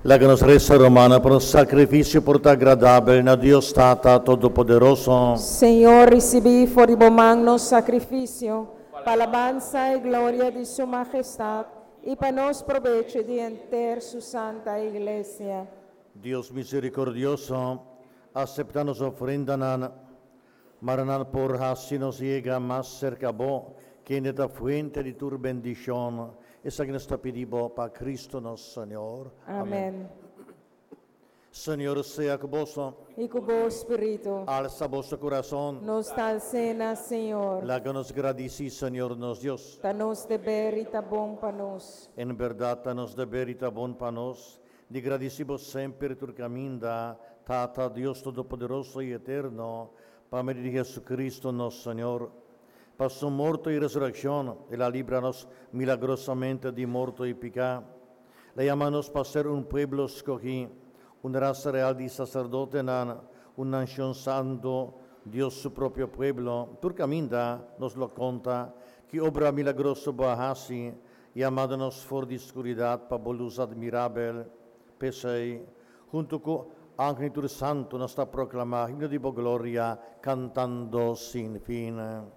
Laga nos resa, rumannan, pa nos sakrifisio por ta agradabel na Dios Tata Todopoderoso. Señor, risibí for di bo man nos sakrifisio, pa alabansa i gloria di Su Mahestat, i pa nos probecho di henter Su Santa Iglesia. Dios miserikordioso, aseptá nos ofrendanan, mara nan por hasi nos yega mas serka Bo, kende ta fuente di tur bendishon. Esaki nos ta pidi Bo pa Cristo nos Señor. Amèn. Señor sea ku boso. I ku bo spiritu. Alsa boso kurason. Nos ta als'é na Señor. Laga nos gradisí Señor nos Dios. Ta nos deber i ta bon pa nos. En bèrdat ta nos deber i ta bon pa nos di gradisí Bo semper tur kaminda, Tata, Dios Todopoderoso i Eterno, pa medio di Jesucristo nos Señor. Pa su morto i resurekshon, el a libra nos milagrosamente di morto i piká. El a yama nos pa ser un pueblo skohí, un rasa real di saserdotenan, un nashon santu, Dios su propio pueblo. Tur kaminda nos lo konta ki obra milagroso bo a hasi, yamando nos for di skuridat pa bo lus admirabel. P'esei, huntu ku angel i tur santu nos ta proklamá himno di bo gloria, kantando sin fin.